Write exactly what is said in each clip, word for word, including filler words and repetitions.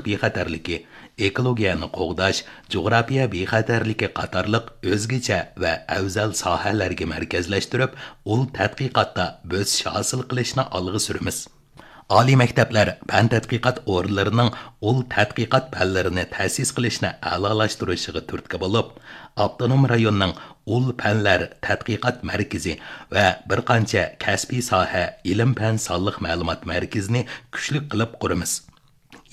بىخەتەرلىكى، ئېكولوگىيەنى قوغداش، جۇغراپىيە بىخەتەرلىكى قاتارلىق ئۆزگىچە ۋە ئەۋزەل ساھەلەرگە مەركەزلەشتۈرۈپ، ئۇل تەتقىقاتتا بۆسۈش ھاسىل قىلىشنى ئالغا سۈرىمىز. ئالىي مەكتەپلەر پەن تەتقىقات ئورۇنلىرىنىڭ ئۇل تەتقىقات پەنلىرىنى تەسىس قىلىشنى ئەلالاشتۇرۇشىغا تۈرتكە بولۇپ، ئاپتونوم رايوننىڭ ئۇل پەنلەر تەتقىقات مەركىزى ۋە بىر قانچە كەسپىي ساھە ئىلىم-پەن سانلىق مەلۇمات مەركىزىنى كۈچلۈك قىلىپ قۇرىمىز.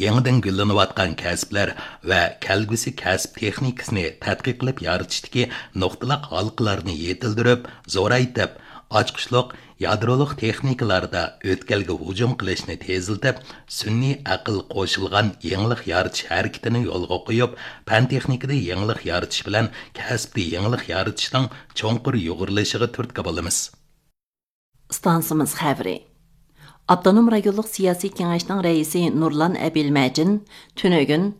يېڭىدىن گۈللىنىۋاتقان كەسىپلەر ۋە كەلگۈسى كەسىپ تېخنىكىسىنى تەتقىق قىلىپ يارىتىشتىكى نۇقتىلىق ھالقىلارنى يېتىلدۈرۈپ، زورايتىپ، ئاچقۇچلۇق يادرولۇق تېخنىكىلاردا ئۆتكەلگە ھۇجۇم قىلىشنى تېزلىتىپ، سۈنئىي ئەقىل قوشۇلغان يېڭىلىق يارىتىش ھەرىكىتىنى يولغا قويۇپ، پەن تېخنىكىدا يېڭىلىق يارىتىش بىلەن كەسىپتە يېڭىلىق يارىتىشنىڭ چوڭقۇر يۇغۇرۇلۇشىغا تۈرتكە بولىمىز. ئىستانسىمىز خەۋىرى. ئاپتونوم رايونلۇق سىياسىي كېڭەشنىڭ رەئىسى نۇرلان ئەبىلمەجىن تۈنۈگۈن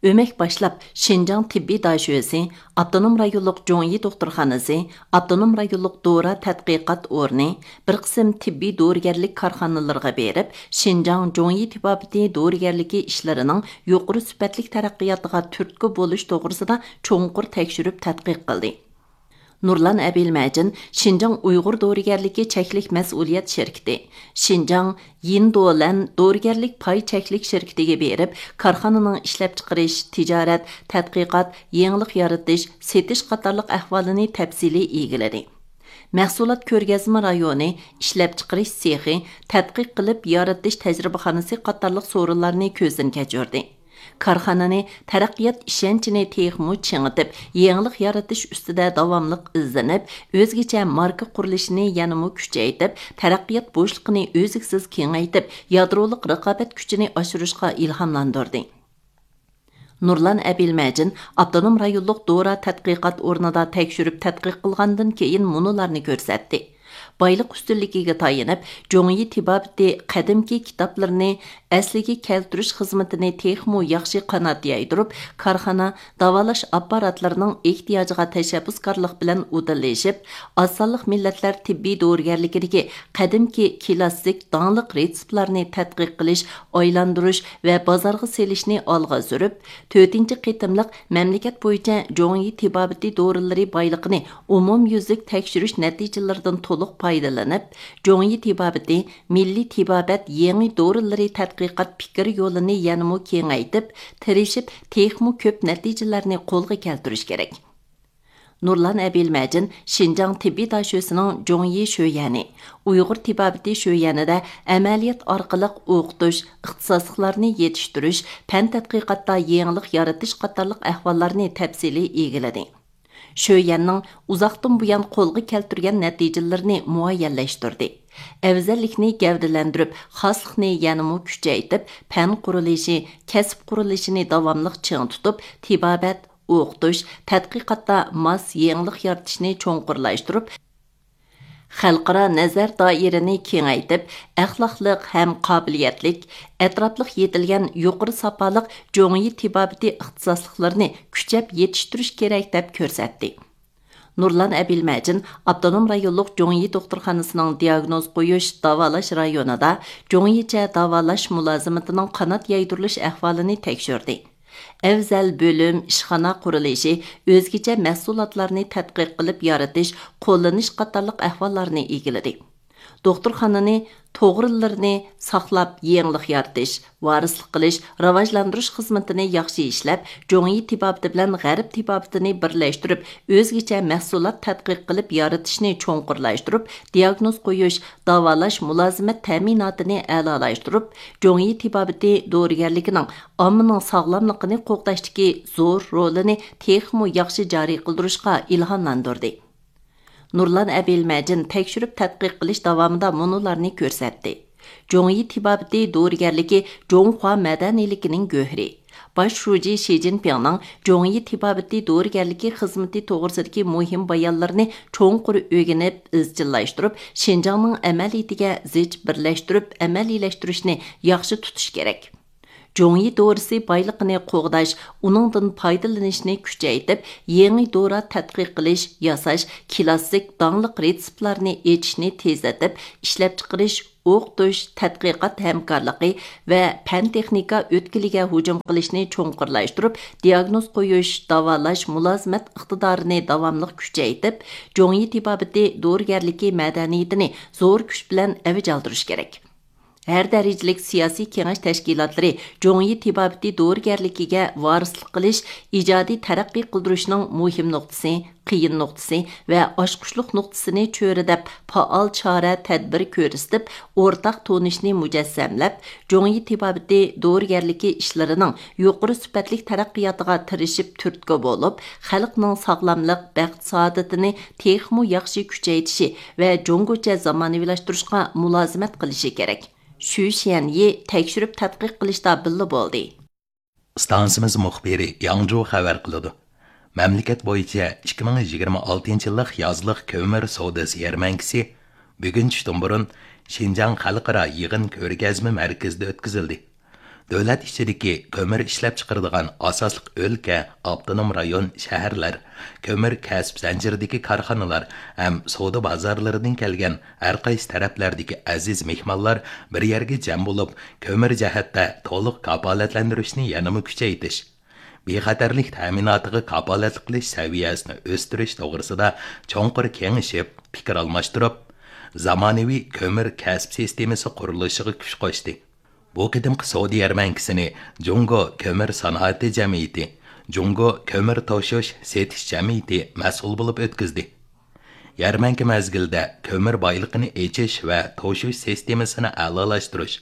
ئۆمەك باشلاپ شىنجاڭ تېببىي داشۆسى، ئاپتونوم رايونلۇق جۇڭيى دوختۇرخانىسى، ئاپتونوم رايونلۇق دورا تەتقىقات ئورنى، بىر قىسىم تېببىي دورىگەرلىك كارخانىلىرىغا بېرىپ، شىنجاڭ جۇڭيى تېبابىتى دورىگەرلىكى ئىشلىرىنىڭ يۇقىرى سۈپەتلىك تەرەققىياتىغا تۈرتكە بولۇش توغرىسىدا چوڭقۇر تەكشۈرۈپ تەتقىق قىلدى. نۇرلان ئەبىلمەجىن شىنجاڭ ئۇيغۇر دورىگەرلىكى چەكلىك مەسئۇلىيەت شىركىتى، شىنجاڭ يىندولەن دورىگەرلىك پاي چەكلىك شىركىتىگە بېرىپ، كارخانىنىڭ ئىشلەپچىقىرىش، تىجارەت، تەتقىقات، يېڭىلىق يارىتىش، سېتىش قاتارلىق ئەھۋالىنى تەپسىلىي ئىگىلىدى. مەھسۇلات كۆرگەزمە رايونى، ئىشلەپچىقىرىش سېخى، تەتقىق قىلىپ يارىتىش تەجرىبىخانىسى قاتارلىق سورۇنلارنى كۆزدىن كەچۈردى. كارخانىنى تەرەققىيات ئىشەنچىنى تېخىمۇ چىڭىتىپ، يېڭىلىق يارىتىش ئۈستىدە داۋاملىق ئىزدىنىپ، ئۆزگىچە ماركا قۇرۇلۇشىنى يەنىمۇ كۈچەيتىپ، تەرەققىيات بوشلۇقىنى ئۈزلۈكسىز كېڭەيتىپ، يادرولۇق رىقابەت كۈچىنى ئاشۇرۇشقا ئىلھاملاندۇردى. نۇرلان ئەبىلمەجىن ئاپتونوم رايونلۇق دورا تەتقىقات ئورنىدا تەكشۈرۈپ تەتقىق قىلغاندىن كېيىن مۇنۇلارنى كۆرسەتتى. بايلىق ئۈستۈنلۈكىگە تايىنىپ، جۇڭيى تېبابىتى قەدىمكى كىتابلىرىنى ئەسلىگە كەلتۈرۈش خىزمىتىنى تېخىمۇ ياخشى قانات يايدۇرۇپ، كارخانا داۋالاش ئاپپاراتلىرىنىڭ ئېھتىياجىغا تەشەببۇسكارلىق بىلەن ئۇدۇللىشىپ، ئاز سانلىق مىللەتلەر تېببىي دورىگەرلىكىدىكى قەدىمكى كلاسسىك داڭلىق رېتسېپلارنى تەتقىق قىلىش، ئايلاندۇرۇش ۋە بازارغا سېلىشنى ئالغا سۈرۈپ، تۆتىنچى قېتىملىق مەملىكەت بويىچە جۇڭيى تېبابىتى دورىلىرى بايلىقىنى ئومۇميۈزلۈك تەكشۈرۈش نەتىجىلىرىدىن تولۇق پايدىلىنىپ، جۇڭيى تېبابىتى مىللىي تېبابەت يېڭى دورىلىرى تەتقىقات پىكىر يولىنى يەنىمۇ كېڭەيتىپ، تىرىشىپ تېخىمۇ كۆپ نەتىجىلەرنى قولغا كەلتۈرۈش كېرەك. نۇرلان ئەبىلمەجىن شىنجاڭ تېببىي داشۆسىنىڭ جۇڭيى شۆيەنى، ئۇيغۇر تېبابىتى شۆيەنىدە ئەمەلىيەت ئارقىلىق ئوقۇتۇش، ئىختىساسلىقلارنى يېتىشتۈرۈش، پەن تەتقىقاتتا يېڭىلىق يارىتىش قاتارلىق ئەھۋاللارنى تەپسىلىي ئىگىلىدى. شۆيەننىڭ ئۇزاقتىن بۇيان قولغا كەلتۈرگەن نەتىجىلىرىنى مۇئەييەنلەشتۈردى. ئەۋزەللىكنى گەۋدىلەندۈرۈپ، خاسلىقنى يەنىمۇ كۈچەيتىپ، پەن قۇرۇلۇشى، كەسىپ قۇرۇلۇشىنى داۋاملىق چىڭ تۇتۇپ، تېبابەت، ئوقۇتۇش، تەتقىقاتتا ماس يېڭىلىق يارىتىشنى چوڭقۇرلاشتۇرۇپ، خەلقئارا نەزەر دائىرىنى كېڭەيتىپ، ئەخلاقلىق ھەم قابىلىيەتلىك، ئەتراپلىق يېتىلگەن يۇقىرى ساپالىق جۇڭيى تېبابىتى ئىختىساسلىقلىرىنى كۈچەپ يېتىشتۈرۈش كېرەك، دەپ كۆرسەتتى. نۇرلان ئەبىلمەجىن ئاپتونوم رايونلۇق جۇڭيى دوختۇرخانىسىنىڭ دىئاگنوز قويۇش، داۋالاش رايونىدا جۇڭيىچە داۋالاش مۇلازىمىتىنىڭ قانات يايدۇرۇلۇش ئەھۋالىنى تەكشۈردى. ئەۋزەل بۆلۈم، ئىشخانا قۇرۇلۇشى، ئۆزگىچە مەھسۇلاتلارنى تەتقىق قىلىپ يارىتىش، قوللىنىش قاتارلىق ئەھۋاللارنى ئىگىلىدى. دوختۇرخانىنى توغرىلىرىنى ساقلاپ، يېڭىلىق يارىتىش، ۋارىسلىق قىلىش، راۋاجلاندۇرۇش خىزمىتىنى ياخشى ئىشلەپ، جۇڭيى تېبابىتى بىلەن غەرب تېبابىتىنى بىرلەشتۈرۈپ، ئۆزگىچە مەھسۇلات تەتقىق قىلىپ يارىتىشنى چوڭقۇرلاشتۇرۇپ، دىئاگنوز قويۇش، داۋالاش، مۇلازىمەت تەمىناتىنى ئەلالاشتۇرۇپ، جۇڭيى تېبابىتى دورىگەرلىكىنىڭ ئاممىنىڭ ساغلاملىقىنى قوغداشتىكى زور رولىنى تېخىمۇ ياخشى جارى قىلدۇرۇشقا ئىلھاملاندۇردى. نۇرلان ئەبىلمەجىن تەكشۈرۈپ تەتقىق قىلىش داۋامىدا مۇنۇلارنى كۆرسەتتى. جۇڭيى تېبابىتى دورىگەرلىكى جۇڭخۇا مەدەنىيلىكىنىڭ گۆھىرى. باش شۇجى شى جىنپىڭنىڭ جۇڭيى تېبابىتى دورىگەرلىكى خىزمىتى توغرىسىدىكى مۇھىم بايانلىرىنى چوڭقۇر ئۆگىنىپ، ئىزچىللاشتۇرۇپ، شىنجاڭنىڭ ئەمەلىيىتىگە زىچ بىرلەشتۈرۈپ ئەمەلىيلەشتۈرۈشنى ياخشى تۇتۇش كېرەك. جۇڭيى دورىسى بايلىقىنى قوغداش، ئۇنىڭدىن پايدىلىنىشنى كۈچەيتىپ، يېڭى دورا تەتقىق قىلىش، ياساش، كلاسسىك داڭلىق رېتسېپلارنى ئېچىشنى تېزلىتىپ، ئىشلەپچىقىرىش، ئوقۇتۇش، تەتقىقات ھەمكارلىقى ۋە پەن-تېخنىكا ئۆتكىلىگە ھۇجۇم قىلىشنى چوڭقۇرلاشتۇرۇپ، دىياگنوز قويۇش، داۋالاش، مۇلازىمەت ئىقتىدارىنى داۋاملىق كۈچەيتىپ، جۇڭيى تېبابىتى دورىگەرلىكى مەدەنىيىتىنى زور كۈچ بىلەن ئەۋج ئالدۇرۇش كېرەك. ھەر دەرىجىلىك سىياسىي كېڭەش تەشكىلاتلىرى جۇڭيى تېبابىتى دورىگەرلىكىگە ۋارىسلىق قىلىش، ئىجادىي تەرەققىي قىلدۇرۇشنىڭ مۇھىم نۇقتىسى، قىيىن نۇقتىسى ۋە ئاچقۇچلۇق نۇقتىسىنى چۆرىدەپ، پائال چارە، تەدبىر كۆرسىتىپ، ئورتاق تونۇشنى مۇجەسسەملەپ، جۇڭيى تېبابىتى دورىگەرلىكى ئىشلىرىنىڭ يۇقىرى سۈپەتلىك تەرەققىياتىغا تىرىشىپ تۈرتكە بولۇپ، خەلقنىڭ ساغلاملىق، بەخت-سائادىتىنى تېخىمۇ ياخشى كۈچەيتىشى ۋە جۇڭگوچە زامانىۋىلاشتۇرۇشقا مۇلازىمەت قىلىشى كېرەك. شۈ شيەنيى تەكشۈرۈپ تەتقىق قىلىشتا بىللە بولدى. ئىستانسىمىز مۇخبىرى ياڭجۇ خەۋەر قىلىدۇ. مەملىكەت بويىچە ئىككى مىڭ يىگىرمە ئالتىنچى يىللىق يازلىق كۆمۈر سودىسى يەرمەنكىسى بۈگۈن چۈشتىن بۇرۇن شىنجاڭ خەلقئارا يىغىن كۆرگەزمە مەركىزىدە ئۆتكۈزۈلدى. دۆلەت ئىچىدىكى كۆمۈر ئىشلەپچىقىرىدىغان ئاساسلىق ئۆلكە، ئاپتونوم رايون، شەھەرلەر، كۆمۈر كەسىپ زەنجىرىدىكى كارخانىلار ھەم سودا بازارلىرىدىن كەلگەن ھەر قايسى تەرەپلەردىكى ئەزىز مېھمانلار بىر يەرگە جەم بولۇپ، كۆمۈر جەھەتتە تولۇق كاپالەتلەندۈرۈشنى يەنىمۇ كۈچەيتىش، بىخەتەرلىك تەمىناتىغا كاپالەتلىك قىلىش سەۋىيەسىنى ئۆستۈرۈش توغرىسىدا چوڭقۇر كېڭىشىپ، پىكىر ئالماشتۇرۇپ، زامانىۋى كۆمۈر كەسىپ سىستېمىسى قۇرۇلۇشىغا كۈچ قوشتى. بۇ قېتىمقى سودا يەرمەنكىسىنى جۇڭگو كۆمۈر سانائىتى جەمئىيىتى، جۇڭگو كۆمۈر توشۇش سېتىش جەمئىيىتى مەسئۇل بولۇپ ئۆتكۈزدى. يەرمەنكە مەزگىلىدە كۆمۈر بايلىقىنى ئېچىش ۋە توشۇش سىستېمىسىنى ئەلالاشتۇرۇش،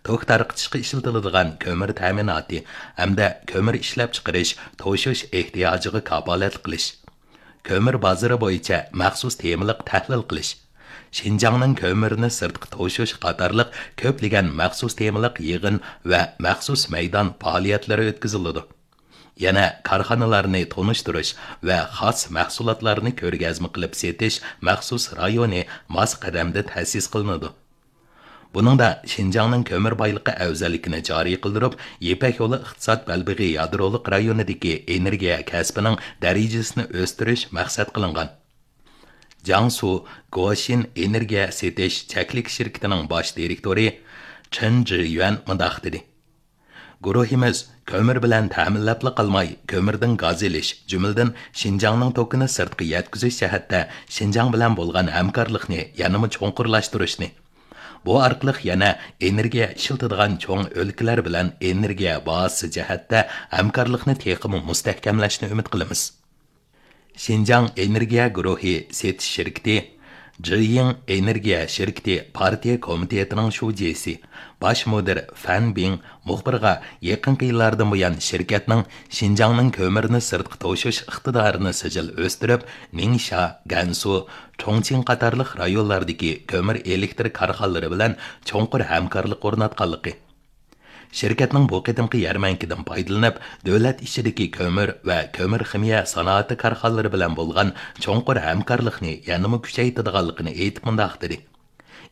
توك تارقىتىشقا ئىشلىتىلىدىغان كۆمۈر تەمىناتى ھەمدە كۆمۈر ئىشلەپچىقىرىش، توشۇش ئېھتىياجىغا كاپالەتلىك قىلىش، كۆمۈر بازىرى بويىچە مەخسۇس تېمىلىق تەھلىل قىلىش، شىنجاڭنىڭ كۆمۈرنى سىرتقا توشۇش قاتارلىق كۆپلىگەن مەخسۇس تېمىلىق يىغىن ۋە مەخسۇس مەيدان پائالىيەتلىرى ئۆتكۈزۈلىدۇ. يەنە كارخانىلارنى تونۇشتۇرۇش ۋە خاس مەھسۇلاتلارنى كۆرگەزمە قىلىپ سېتىش مەخسۇس رايونى ماس قەدەمدە تەسىس قىلىنىدۇ. بۇنىڭدا شىنجاڭنىڭ كۆمۈر بايلىقى ئەۋزەللىكىنى جارى قىلدۇرۇپ، يىپەك يولى ئىقتىساد بەلبېغى يادرولۇق رايونىدىكى ئېنېرگىيە كەسپىنىڭ دەرىجىسىنى ئۆستۈرۈش مەقسەت قىلىنغان. جياڭسۇ گوشىن ئېنېرگىيە سېتىش چەكلىك شىركىتىنىڭ باش دىرېكتورى چېن جىيۈەن مۇنداق دېدى: گۇرۇھىمىز كۆمۈر بىلەن تەمىنلەپلا قالماي، كۆمۈردىن گاز ئېلىش، جۈملىدىن شىنجاڭنىڭ توكىنى سىرتقا يەتكۈزۈش جەھەتتە شىنجاڭ بىلەن بولغان ھەمكارلىقنى يەنىمۇ چوڭقۇرلاشتۇرۇشنى، بۇ ئارقىلىق يەنە ئېنېرگىيە ئىشلىتىدىغان چوڭ ئۆلكىلەر بىلەن ئېنېرگىيە باھاسى جەھەتتە ھەمكارلىقنى تېخىمۇ مۇستەھكەملەشنى ئۈمىد قىلىمىز. شىنجاڭ ئېنېرگىيە گۇرۇھى سېتىش شىركىتى، جىيىڭ ئېنېرگىيە شىركىتى پارتىيە كومىتېتىنىڭ شۇجىسى، باش مۇدىر فەن بىڭ مۇخبىرغا يېقىنقى يىللاردىن بۇيان شىركەتنىڭ شىنجاڭنىڭ كۆمۈرنى سىرتقا توشۇش ئىقتىدارىنى سىجىل ئۆستۈرۈپ، نىڭشا، گەنسۇ، چۇڭچىڭ قاتارلىق رايونلاردىكى كۆمۈر ئېلېكتر كارخانىلىرى بىلەن چوڭقۇر ھەمكارلىق ئورناتقانلىقى، شىركەتنىڭ بۇ قېتىمقى يەرمەنكىدىن پايدىلىنىپ، دۆلەت ئىچىدىكى كۆمۈر ۋە كۆمۈر خىمىيە سانائىتى كارخانىلىرى بىلەن بولغان چوڭقۇر ھەمكارلىقنى يەنىمۇ كۈچەيتىدىغانلىقىنى ئېيتىپ مۇنداق دېدى: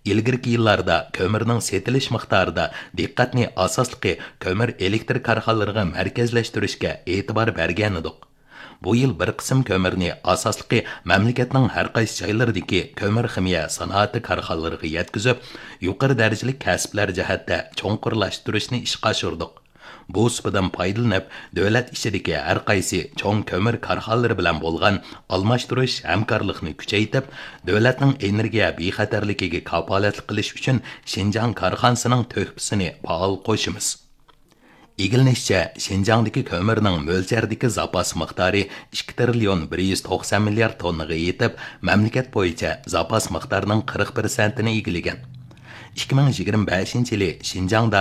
ئىلگىرىكى يىللاردا كۆمۈرنىڭ سېتىلىش مىقدارىدا دىققەتنى ئاساسلىقى كۆمۈر ئېلېكتر كارخانىلىرىغا مەركەزلەشتۈرۈشكە ئېتىبار بەرگەنىدۇق. بۇ يىل بىر قىسىم كۆمۈرنى ئاساسلىقى مەملىكەتنىڭ ھەر قايسى جايلىرىدىكى كۆمۈر خىمىيە سانائىتى كارخانىلىرىغا يەتكۈزۈپ، يۇقىرى دەرىجىلىك كەسىپلەر جەھەتتە چوڭقۇرلاشتۇرۇشنى ئىشقا ئاشۇردۇق. بۇ سۇپىدىن پايدىلىنىپ، دۆلەت ئىچىدىكى ھەر قايسى چوڭ كۆمۈر كارخانىلىرى بىلەن بولغان ئالماشتۇرۇش ھەمكارلىقنى كۈچەيتىپ، دۆلەتنىڭ ئېنېرگىيە بىخەتەرلىكىگە كاپالەتلىك قىلىش ئۈچۈن شىنجاڭ كارخانىسىنىڭ تۆھپىسىنى پائال قوشىمىز. ئىگىلىنىشىچە، شىنجاڭدىكى كۆمۈرنىڭ مۆلچەردىكى زاپاس مىقدارى ئىككى تىرىليون بىر يۈز توقسان مىليارد توننىغا يېتىپ، مەملىكەت بويىچە زاپاس مىقدارنىڭ قىرىق پىرسەنتىنى ئىگىلىگەن. ئىككى مىڭ يىگىرمە بەشىنچى يىلى شىنجاڭدا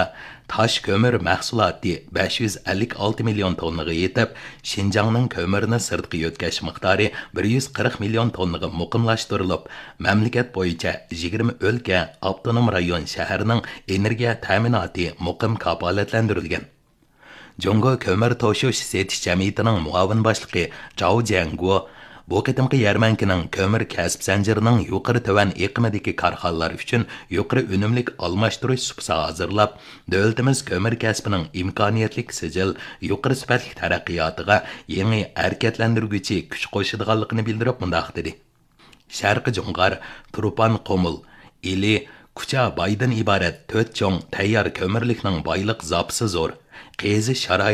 تاش كۆمۈر مەھسۇلاتى بەش يۈز ئەللىك ئالتە مىليون توننىغا يېتىپ، شىنجاڭنىڭ كۆمۈرنى سىرتقا يۆتكەش مىقدارى بىر يۈز قىرىق مىليون توننىغا مۇقىملاشتۇرۇلۇپ، مەملىكەت بويىچە يىگىرمە ئۆلكە، ئاپتونوم رايون، شەھەرنىڭ ئېنېرگىيە تەمىناتى مۇقىم كاپالەتلەندۈرۈلگەن. جۇڭگو كۆمۈر توشۇش سېتىش جەمئىيىتىنىڭ مۇئاۋىن باشلىقى جاۋ جيەنگو بۇ قېتىمقى يەرمەنكىنىڭ كۆمۈر كەسىپ زەنجىرىنىڭ يۇقىرى تۆۋەن ئېقىمىدىكى كارخانىلار ئۈچۈن يۇقىرى ئۈنۈملۈك ئالماشتۇرۇش سۇپىسى ھازىرلاپ، دۆلىتىمىز كۆمۈر كەسپىنىڭ ئىمكانىيەتلىك سىجىل، يۇقىرى سۈپەتلىك تەرەققىياتىغا يېڭى ھەرىكەتلەندۈرگۈچى كۈچ قوشىدىغانلىقىنى بىلدۈرۈپ مۇنداق دېدى: شەرقىي جۇڭغار، تۇرپان قۇمۇل، ئىلى، كۇچا بايدىن ئىبارەت تۆت چوڭ تەييار كۆمۈرلۈكنىڭ بايلىق زاپىسى زور، قېزىش شارائىتى